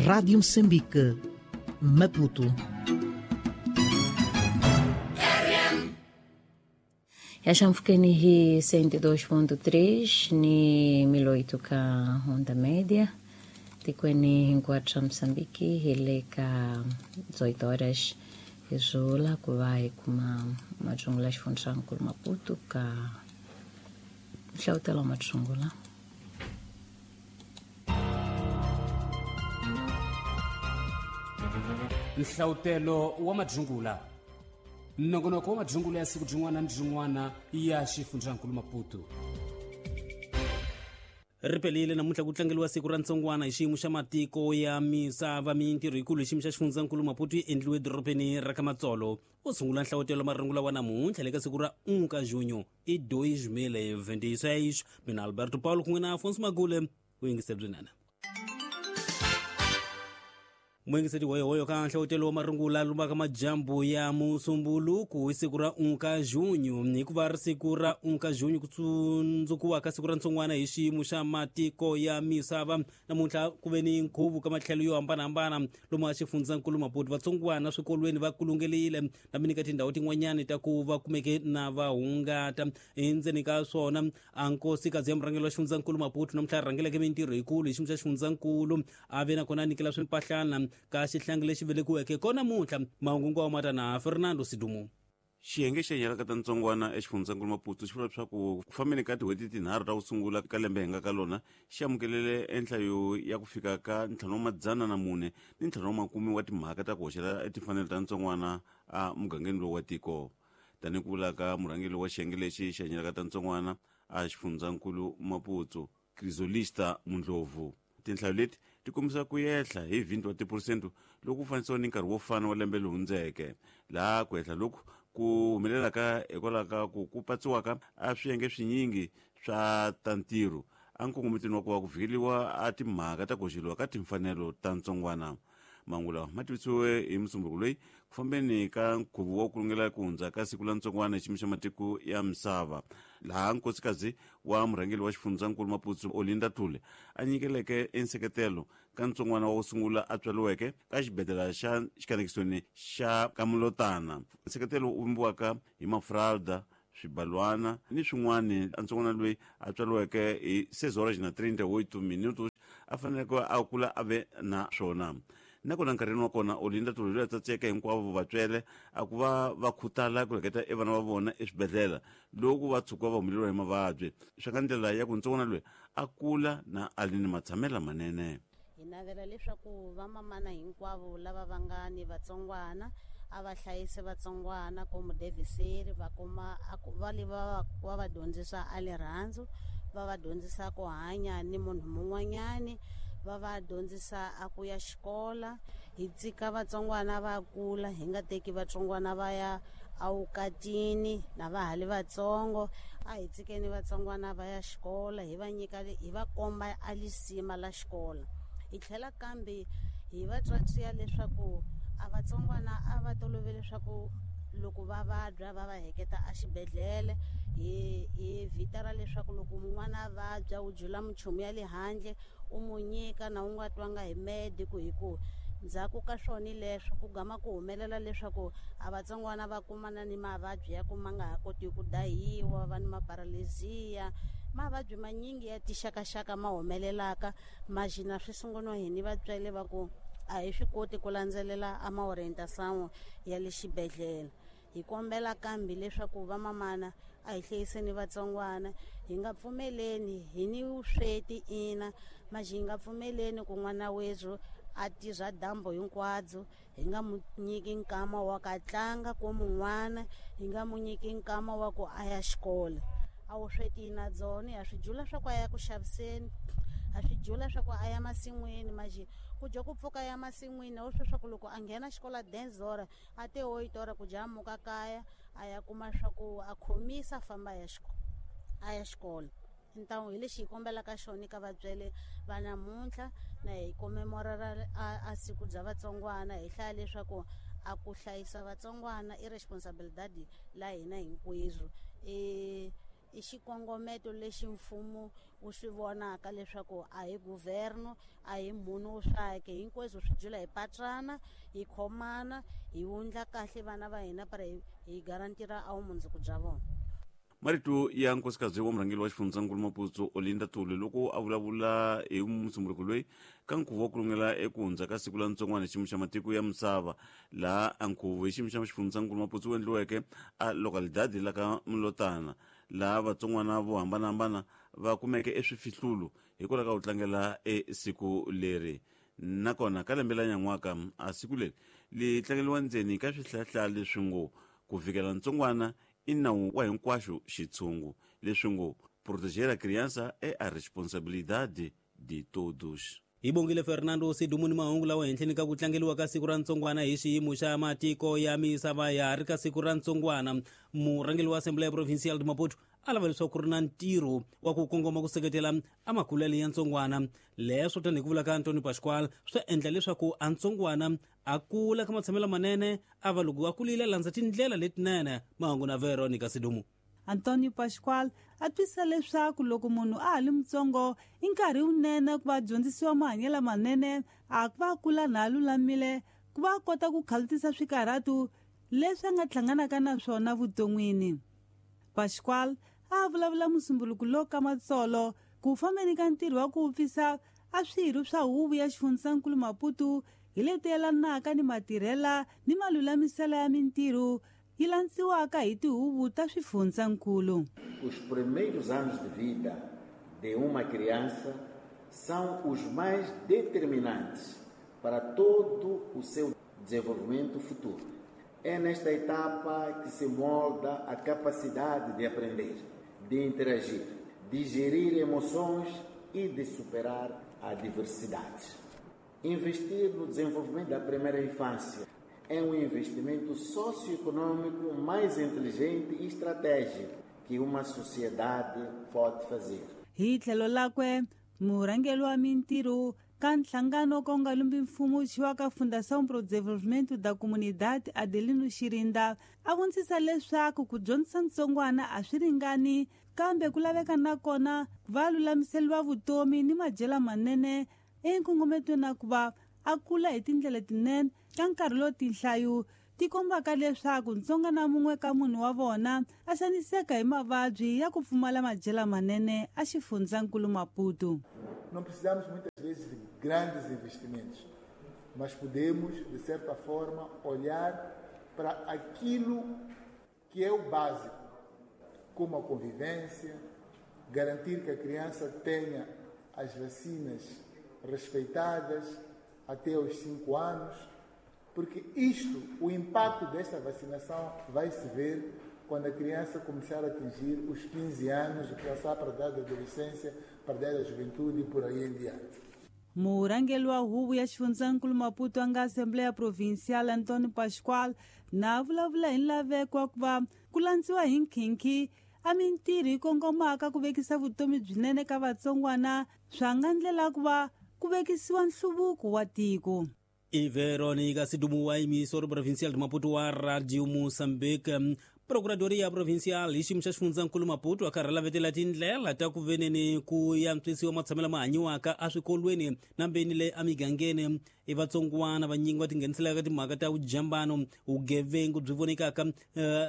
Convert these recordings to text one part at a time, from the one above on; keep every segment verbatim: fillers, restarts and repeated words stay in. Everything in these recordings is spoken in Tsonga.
Rádio Moçambique, Maputo. Yaxamfukeni hi cento e dois ponto três ni mil oito ka onda média tikweni hinkwathu swa Moçambique hi le ka dezoito horas hi zula ku va hi kuma matsungula xifundzankulu Maputo ka nhlawutelo wa matsungula. Nhlawutelo wa madzungula nongonoko wa madzungula ya siku byin'wana ni byin'wana ya xifundzankulu Maputo. Ri pelile namuntlha ku tlangeliwa siku ra ntsongwana hi xiyimo xa matiko ya misava. Mintirho yikulu hi xiyimo xa xifundzankulu Maputo yi endliwe edorobeni ra ka Matsolo. U sungula nhlawutelo marungula wa namuntlha le ka siku ra um ka junho i dois mil e vinte e seis. Mina Alberto Paulo kun'we na Afonso Magule u yingiseri byinene. Muingiseri hoyohoyo ka nhlawutelo wa marungula lumaka majambu ya musumbuluku hi siku ra um ka junho hikuva ri siku ra um ka junho ku tsundzukiwa ka siku ra ntsongwana hi xiyimo xa matiko ya misava. Namuntlha ku ve ni nkhuvo ka matlhelo yo hambanahambana lomu a xifundzankulu Maputo. Vatsongwana swikolweni va kulungelile na mini ka tindhawu tin'wanyani ta ku va kumeke na va hungata. Endzeni ka swona a nkosikazi ya murhangeri wa xifundzankulu Maputo namuntlha a rhangeleke mintirho yikulu hi xiyimo xa xifundzankulu a ve nakona a nyikela swimpahlana ka xihlangi lexi velekiweke kona namuntlha. Mahungu wa mata na Fernando Sidumo. Xiyenge xa nyalaka ta ntsongwana exifundzankulu Maputo xi vula leswaku ku fambeni ka tin'hweti tinharhu ta ku sungula ka lembe hi nga ka lona xi amukelele enhlayo ya ku fika ka ntlhanu wa madzana na mune ni ntlhanu wa makume wa timhaka ta ku hoxela etimfanelo ta ntsongwana a mugangeni lowu wa tiko. Tanihi ku vula ka murhangeri wa xiyenge lexi xa nyalaka ta ntsongwana a xifundzankulu Maputo, Crisolista Mundlovu, tinhlayo leti ti kombisa ku yehla hi vinte wa tiphurosente loko ku fanisiwa ni nkarhi wo fana wa lembe lowu hundzeke, laha ku yehla loku ku humelelaka hikwalaho ka ku ku patsiwaka a swiyenge swinyingi swa ta ntirho a nkongometweni wa ku va ku vhikeliwa a timhaka ta ku hoxeliwa ka timfanelo ta ntsongwana. Mahungu lawa ma tivisiwe hi musumbuko loyi ku fambeni ka nkhuvo wa ku lungela ku hundza ka siku la ntsongwana hi xiyimo xa matiko ya misava, laha nkosikazi wa murhangeri wa xifundzankulu Maputo Olinda Thule a nyikeleke enseketelo ka ntsongwana wa ku sungula a tswariweke ka xibedhlele xa xikanekisoni xa Kamulotana. Nseketelo wu vumbiwaka hi mafralda, swibalwana ni swin'wana. Ntsongwana loyi a tswariweke hi seis horas na trinta e oito minutos a faneleke a kula a ve na swona. Nakona nkarhini wa kona Olinda Thule loyi a tsatseka hinkwavo vatswele a ku va va khutala ku leketa e vana va vona eswibedhlele loko va tshuka va humeleriwa hi mavabyi swa ka ndlela ya ku ntsongwana loyi a kula na a ri ni matshamelo manene. Hi navela leswaku vamamana hinkwavo lava va nga ni vatsongwana a va hlayise vatsongwana komu deviseri va kuma va le va va va dyondzisa a rirhandzu, va va dyondzisa ku hanya ni munhu mun'wanyani, va va dyondzisa a ku ya xikola. Hi tshika vatsongwana va kula, hi nga teki vatsongwana va ya awukatini na va ha li vatsongo. A hi tshikeni vatsongwana va ya xikola, hi va nyika hi va komba a lisima la xikola. Hi tlhela kambe hi va tswatsiya leswaku a vatsongwana a va tolovele leswaku loko va vabya va va heketa a xibedhlele. Hi hi vitara leswaku loko mun'wana a vabya u jula minchumu ya le handle u mu nyika na u nga twanga hi medico, hi ku ndzhaku ka swona leswo ku gama ku humelela leswaku a vatsongwana va kumana ni mavabyi ya ku ma nga ha koti ku dahiwa, va ni maparalezia, mavabyi manyingi ya tixakaxaka ma humelelaka maxina swi sunguriwa hi ni vatswele va ku a hi swi koti ku landzelela a maorientation ya le xibedhlele. Hi kombela kambe leswaku vamamana a hi hlayiseni vatsongwana, hi nga pfumeleni hi ni vusweti ina maxi hi nga pfumeleni ku n'wana wethu a tirha dyambu hinkwabyo, hi nga mu nyiki nkama wa ka tlanga ko mun'wana, hi nga mu nyiki nkama wa ku a ya xikolo. A vusweti na byona ha swi jula swa ku a ya ku xaviseni, ha swi jula swa ku a ya masin'wini maxi ku dya ku pfuka ya masin'wini a wu swi swa ku loko a nghena xikolo dez hora a te oito hora ku dya muka kaya a ya kuma swa ku a khomisa a famba a ya xikolo a ya xikolo. Ntawu hi lexi hi kombelaka xona ka vatswele va namuntlha na hi comemorera a, a siku bya vatsongwana, hi hlaya leswaku a ku hlayisa vatsongwana i responsabilidade la hina hinkwenu. E I xikongometo lexi mfumo wu swi vonaka leswaku a hi governo, a hi munhu wo swake, hinkwaswo swi jula hi patrana, hi khomana, hi wundla kahle vana va hina para hi garantira a vumundzuku bya vona. Marito ya nkosikazi wa murhangeri wa xifundzankulu Maputo Olinda Tuli loko a vulavula hi musunguluko loyi ka nkhuvo wa ku lungela eku hundza ka siku la ntsongwana xiyimo xa matiko ya misava, laha a nkhuvo hi xiyimo xa xifundzankulu Maputo wu endliweke a localidade la ka Mlotana, laha vatsongwana vo hambanahambana va kumeke eswifihlulo hikwalaho ka ku tlangela e siku leri. Nakona ka lembe la nyan'waka a siku leri li tlangeriwa ndzeni ka swihlahla leswi ngo ku vikela ntsongwana i nawu wa hinkwaxo xitshungu, leswi ngo proteger a criança é a responsabilidade de todos. Hi bongile Fernando Sidumuni mahungu lawa henhleni ka ku tlangeriwa ka siku ra ntsongwana hi xiyimo xa matiko ya misava. Ya ri ka siku ra ntsongwana, murhangeri wa Assembleia Provincial de Maputo a lava leswaku ku ri na ntirho wa ku kongoma ku seketela a makulele ya ntsongwana. Leswo tanihi ku vula ka Antonio Pascual swi endla leswaku a ntsongwana a kula ka matshamelo manene, a va loko a kulile a landza tindlela letinene. Mahungu na Veronica Sidumu. Antonio Pascual a twisa leswaku loko munhu a ha li mutsongo i nkarhi wunene ku va dyondzisiwa mahanyelo manene, a ku va kula na lulamile ku va kota ku khalutisa swikarhatu leswi a nga hlanganaka na swona vuton'wini. Pascual a vulavula musumbuluko lowu ka matsolo ku fambeni ka ntirho wa ku pfisa a swirho swa huvo ya xifundzankulu Maputo hi leti yelanaka ni matirhela ni malulamiselo ya mintirho yi landziwaka hi tihuvo ta swifundzankulu. Os primeiros anos de vida de uma criança são os mais determinantes para todo o seu desenvolvimento futuro. É nesta etapa que se molda a capacidade de aprender, de interagir, de gerir emoções e de superar adversidades. Investir no desenvolvimento da primeira infância é um investimento socioeconômico mais inteligente e estratégico que uma sociedade pode fazer. Hi tlhelo lakwe, murhangeri wa mintirho ka nhlangano ka nga lumbi mfumo xiwa ka Fundação pro Desenvolvimento da Comunidade Adelino Xirinda a vondzisa leswaku ku dyondzisa ntsongwana a swi ringani, kambe ku laveka nakona va lulamiseriwa vutomi ni madyelo manene enkongometweni na ku va a kula hi tindlela tinene ka nkarhi lowu tinhlayo ti kombaka leswaku ntsongwana mun'we ka munhu wa vona a xaniseka hi mavabyi ya ku pfumala madyelo manene a xifundzankulu Maputo. Não precisamos muitas vezes de grandes investimentos, mas podemos, de certa forma, olhar para aquilo que é o básico, como a convivência, garantir que a criança tenha as vacinas respeitadas até os cinco anos, porque isto, o impacto desta vacinação vai se ver quando a criança começar a atingir os quinze anos e passar para a idade da adolescência, para a idade da juventude e por aí em diante. Murhangeri wa huvo ya xifundzankulu Maputo a nga Assembleia Provincial Antonio Pascual na vulavula hi nlaveko wa ku va ku landziwa hi nkhinkhi a mintirho yi kongomaka ku vekisa vutomi byinene ka vatsongwana swa nga ndlela ku va ku vekisiwa nhluvuko wa tiko. I Veronica Sidumu wa emissora provincial de Maputo wa Radio Moçambique. Procuradoria Provincial hi xiyimo xa xifundzankulu Maputo a karhi lavetela tindlela ta ku veneni ku yantswisiwa matshamelo ma hanyiwaka eswikolweni na mbeni le emigangeni. I vatsongwana vanyingi va tingheniselaka timhaka ta vujambano, vugevengu byi vonekaka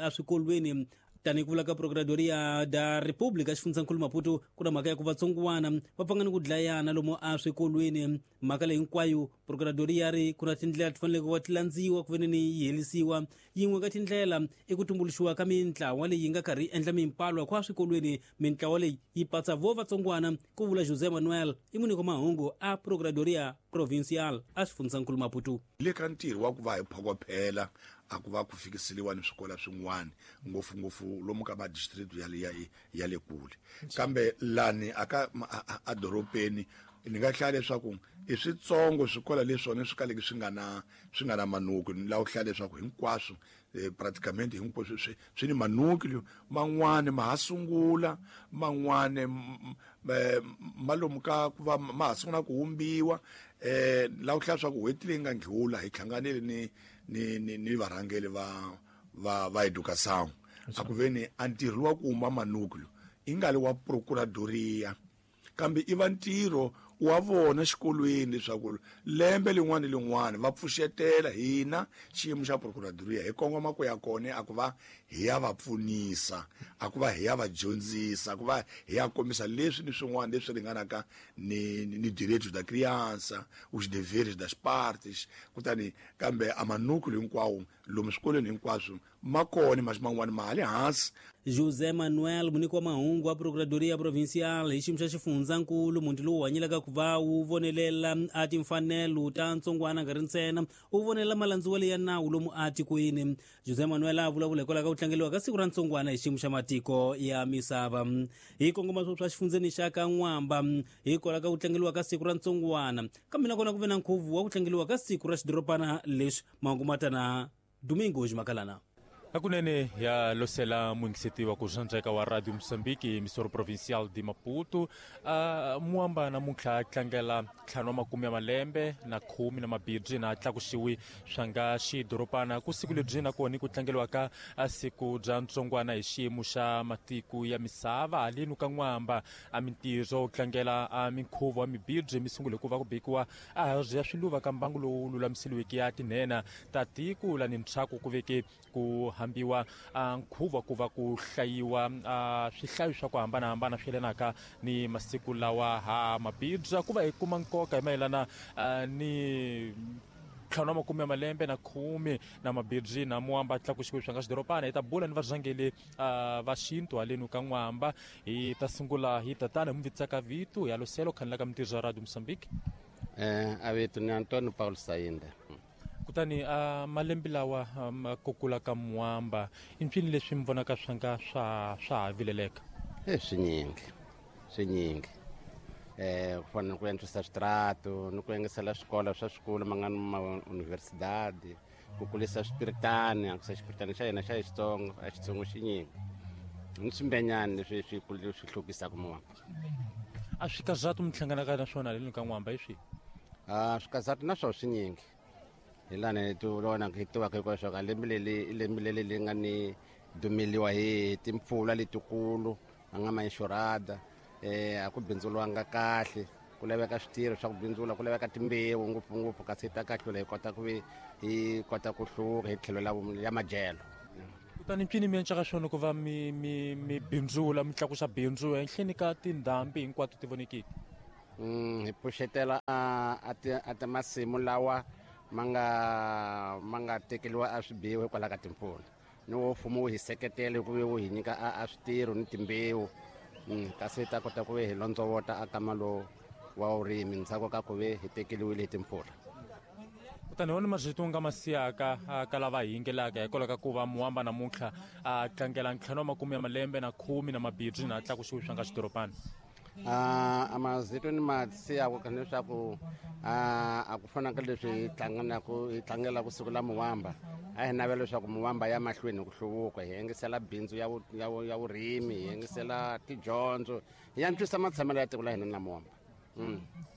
eswikolweni. Tanihi ku vula ka Procuradoria da República xifundzankulu Maputo, ku na mhaka ya ku vatsongwana va pfanga ni ku dlayana lomu eswikolweni. Mhaka leyi hinkwayo Procuradoria ri ku na tindlela ti faneleke ku va ti landziwa ku veneni yi herisiwa. Yin'we ka tindlela i ku tumbuluxiwa ka mintlawa leyi nga karhi yi endla mimpalwa kwa swikolweni. Mintlawa leyi yi patsa vo vatsongwana, ku vula José Manuel i muniko mahungu a Procuradoria Provincial a xifundzankulu Maputo. Le ka ntirho wa ku va hi phokophela a ku va ku fikiseliwa ni swikolo swin'wana ngopfungopfu lomu ka madistrict ya le ya, ya le kule, kambe lani aka a dorobeni ni nga hlaya leswaku i switsongo swikolo leswona swi kaleke swi nga na swi nga na manuku. Ni lava ku hlaya leswaku hinkwaswo praticamente hinkwaswo swi swi ni manuku man'wani ma ha sungula, man'wani ma lomu ka ku va ma ha sungula ku humbiwa. Eh lava ku hlaya leswaku n'hweti leyi nga ndlula hi hlanganile ni ni ni ni varhangeri va va va educação a ku veni a ntirho wa ku huma manuku i nga li wa procuradoria kambe i va ntirho wa vona xikolweni leswaku lembe lin'wana ni lin'wana va pfuxetela hina xiyimo xa procuradoria hi kongoma ku ya kona a ku va hi ya va pfunisa, a ku va hi ya va dyondzisa, a ku va hi ya kombisa leswi ni swin'wana leswi ringanaka ni ni direitos da criança, os deveres das partes. Kutani kambe a manúcleo hinkwawo lomu swikolweni hinkwaswo ma kona, mas man'wana ma le hansi. José Manuel muniki wa mahungu wa Procuradoria Provincial hi xiyimo xa xifundzankulu, muti lowu hanyelaka ku va wu vonelela a timfanelo ta ntsongwana nga ri ntsena wu vonelela malandziwelo ya nawu lomu atikweni. José Manuel a vulavula hikwalaho ka ku tlangeliwa ka siku ra ntsongwana hi xiyimo xa matiko ya misava. Hi kongoma swa xifundzeni xa ka N'wamba hikwalaho ka ku tlangeliwa ka siku ra ntsongwana, kambe nakona ku ve na nkhuvo wa ku tlangeliwa ka siku ra xidorobana lexi. Mahungu matana Domingos Makalana. Hakunene ya losela muingiseti wa kuxandzeka wa Radio Moçambique, emissora provincial de Maputo. Uh, Muamba namuntlha tlangela ntlhanu wa makume ya malembe na khume na mabirhi na tlakuxiwi swa nga xidorobana. Ku siku lebyi nakona ku tlangeliwaka siku bya ntsongwana hi xiyimo xa matiko ya misava haleni ka N'wamba. A mintirho tlangela a minkhuvo wa mibirhi mi sungule ku va ku bekiwa a hansi ya swiluva ka mbangu lowu lulamiseliweke ya tinhena ta tiko lani ntshaku ku veke ku hambiwa nkhuvo ku va ku hlayiwa swihlayo swa ku hambanahambana swi yelanaka ni masiku lawa ha mabibya ku va hi kuma nkoka hi mayelana ni ntlhanu wa makume ya malembe na khume na mabirhi na Muamba tlakuxiwe swa nga xidorobana. Hi ta bula ni varhangeli va xintu haleni ka N'wamba. Hi ta sungula hi tatana hi muvitsaka vito ya loselo khanela ka mintirho ya Radio Moçambique. Eh a vito ni Antonio Paulo Sainda. Kutani a malembe lawa ku kula ka Muamba i mpfini leswi mi vonaka swa nga swa swa ha vileleka? E swinyingi swinyingi eh ku fana ni ku antswisa switrato ni ku engesela swikolo swa swikolo ma nga ni ma universidade, ku kulisa swipiritani, antswisa xipiritani xa hina xa Xitsonga a Xitsongo xinyingi ni swimbenyani leswi swi swi hlukisaka Muamba. A swikazatu mi hlanganaka na swona haleni ka N'wamba hi swihi? A swikazatu na swona swinyingi hi lani ti vona hi tivaka hinkwaswo ka lembe leri i lembe leri leri nga ni dumeliwa hi timpfula letikulu a nga ma inxurada eh a ku bindzuriwanga kahle, ku laveka switirho swa ku bindzula, ku laveka timbewu ngopfungopfu kasi ta kahlula hi kota ku hi kota ku hluka hi tlhelo la ya madyelo. Kutani mpfini mi encaka swona ku va mi mi mi bindzula mi tlakusa bindzu ehenhleni ka tindhambi hinkwato ti vonekiki? Mm, hi pfuxetela a a ti masimu lawa ma nga ma nga tekeriwa a swibiwa hikwalaho ka timpfula ni wo mfumo wu hi seketela hi ku wu hi nyika a switirho ni timbewu kasi hi ta kota ku ve hi londzovota a kama lowu wa vurimi ndzhaku ka ku ve hi tekeriwile hi timpfula. Kutani wona marito nga ma siyaka ka lava hi yingelaka hikwalaho ka ku va Muamba namuntlha a tlangela ntlhanu wa makume ya malembe na khume na mabirhi na tlakuxiwe swa nga xidorobana? A mazito ni ma siyaka leswaku a ku fana ka leswi hi tlanganaka hi tlangelaka siku la Muamba, a hi navela leswaku Muamba ya mahlweni hi ku hluvuka, hi engesela bindzu ya ya ya vurimi, hi engesela tidyondzo, hi antswisa matshamelo ya tiko la hina na Muamba.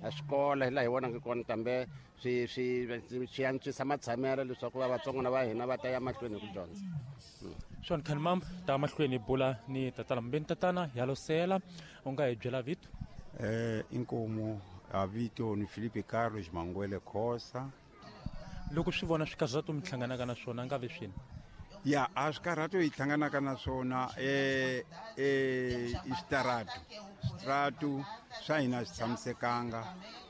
A swikolo hi laha hi vonaka kona kambe swi swi swi antswisa matshamelo leswaku va vatsongwana va hina va ta ya mahlweni hi ku dyondza. Swona khani mamba ta mahlweni hi bula ni tatana mbeni tatana ya losela u nga hi byela vito? Eh inkomo a vito ni Felipe Carlos Manguele Khosa. Loko swi vona swikazatu mi hlanganaka na swona nga ve swini? Ya a swikarhato hi hlanganaka na swona eh eh i switaratu switaratu swa hina swi tshamisekanga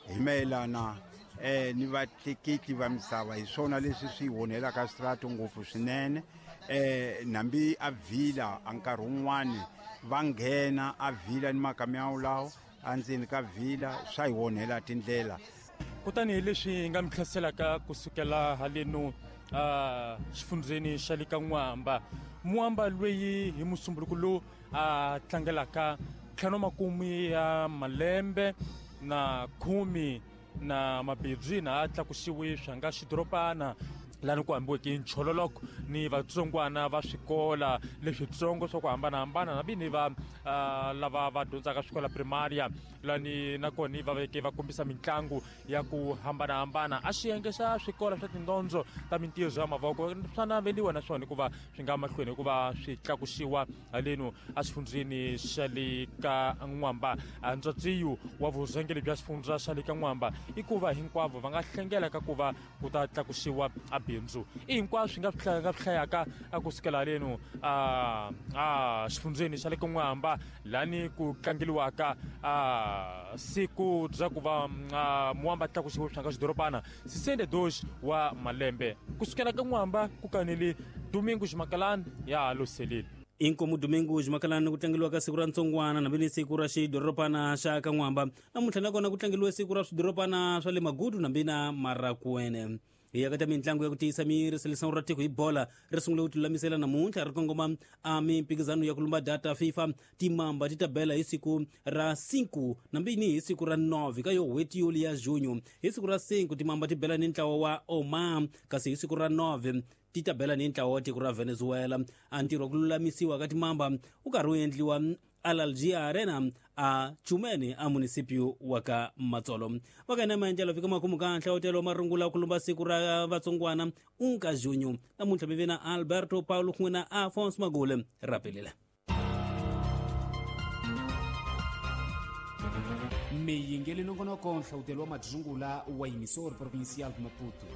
hi mayelana eh ni vatleketli va misava, hi swona leswi swi onhelaka switaratu ngopfu swinene. Eh nambi a vila a nkarhi wun'wani va nghena a vila ni makamiyawu lawo endzeni ka vila swa hi onhela tindlela. Kutani hi leswi hi nga mi hlaselaka kusukela haleno a xifundzeni xa le ka N'wamba. Muamba loyi hi musumbuluko lowu a tlangelaka ntlhanu wa makume ya malembe na khume na mabirhi na a tlakusiwe swa nga xidorobana. Lani ku hambiweke nchololoko ni vatsongwana va swikola leswitsongo swa ku hambanahambana na vini va uh, lava va dyondzaka swikola primaria lani nakona va veke va kombisa mitlangu ya ku hambanahambana. A xiyenge xa swikola swa tindyondzo ta mintirho ya mavoko swa naveliwa naswona hikuva swi nga mahlweni hikuva swi tlakusiwa haleno exifundzheni xa le ka N'wamba. Ntswatsiyu wa vurhangeri bya xifundza xa le ka N'wamba i ku va hinkwavo va nga hlengela ka ku va ku ta tlakusiwa a bindzu. I hinkwaswo swi nga swi nga swi hlayaka a kusukela haleno a a xifundzheni xa le ka N'wamba lani ku tlangeliwaka a siku bya ku va Muwamba tlakusiwe swi nga xidorobana sessenta e dois wa malembe. Kusukela ka N'wamba ku kanele Domingos Makalani ya Loselile. Inkomu Domingos Makalani ku tlangeliwa ka siku ra ntsongwana na siku ra xidorobana xa ka N'wamba. Namuntlha nakona ku tlangeliwe siku ra swidorobana swa le Magudu nambi na Marakwene. Hi ya ka ta mitlangu ya ku tiyisa miri seleção ra tiko hi bola ri sungule ku tilulamisela namuntlha ri kongoma a mimphikizano ya ku lumba data FIFA. Timamba ti ta bela hi siku ra cinco nambini hi siku ra nove ka yo n'hweti yoli ya junho. Hi siku ra cinco timamba ti bela ni ntlawa wa Oman, kasi hi siku ra nove ti ta bela ni ntlawa wa tiko ra Venezuela. A ntirho wa ku lulamisiwa ka timamba wu karhi wu endliwa Alalgia Arena a Chumene a municipio wa ka Matsolo. Va ka hina maendlelo fika makumu ka nhlawutelo wa marungula ku lumba siku ra vatsongwana unka junho. Namuntlha mi ve na Alberto Paulo kun'we na Afonso Magule. Rapelile. Miyingeli nongonoko nhlawutelo wa madzungula wa Emissora Provincial de Maputo.